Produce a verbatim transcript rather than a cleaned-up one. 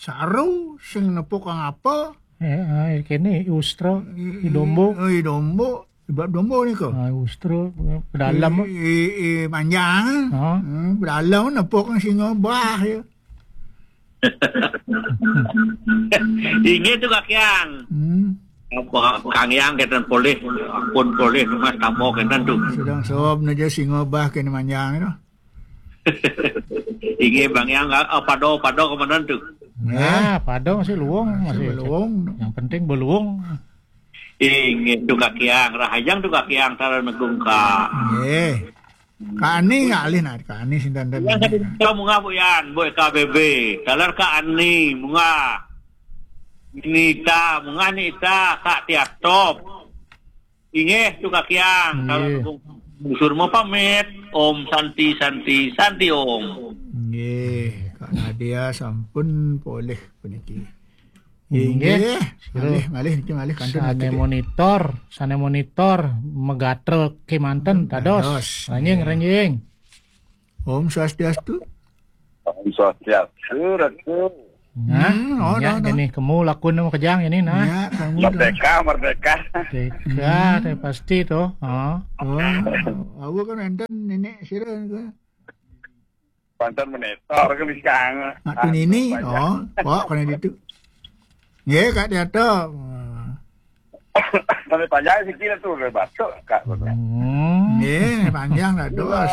Saru, sing nepuk kang apa? Eh, ah, kene, i ustra, i dombo. Oh, i dombo. Sebab dombo ni ko. Ah, i ustra, pedalem. I, i, i manjang. Ha? Hmm, pedalem nepuk kang singa bah ya. Inggih tu Kak Yang. Hmm. Apa Kang Yang kenten polih, ampun polih, Mas, tambah kenten tu. Sedang sob naja singa bah kene manjang tu. Inggih Bang Yang, ah, pada, pada komandan tu. Nah, pada masih luwung, masih masih luwung. Yang penting beluwung. Inggih tu Kak Yang, rahajeng tu Kak Yang, tara negung ka. Nggih. Kak Ani ngalih nah, Kak Ani sinten ten. Yang satu kita munggah Bu Yan, Bu K B B. Taler Kak Ani munggah. Nita, munggah Nita, Kak Tiatop. Inggih tu Kak Yang, tara negung. Busur mau pamit. Om Santi, Santi, Santi Om. Nggih, Kak Nadia sampun polih puniki. Inggih. Inggih. Malih, malih niki malih kantun. Sane monitor, sane monitor, megatra kemanten dados. Dados. Ranjing, nggih. Ranjing. Om Swastiastu. Om Swastiastu, Ratu. Nah, hmm, oh, nya, dah, dah. Ini kemu lakun nama kejang ini, nah. Nya, kamu dah. Merdeka, merdeka. Merdeka, hmm, teh pasti tu. Ha. Oh, awak kan enten nenek sira ke? Pantan menetor ke bikang. Nak tu nini, oh, kok kena ditu. Ye, Kak Diato. Sampai panjang sikit tu, batuk, Kak. Hmm. Ye, panjang dah, dos.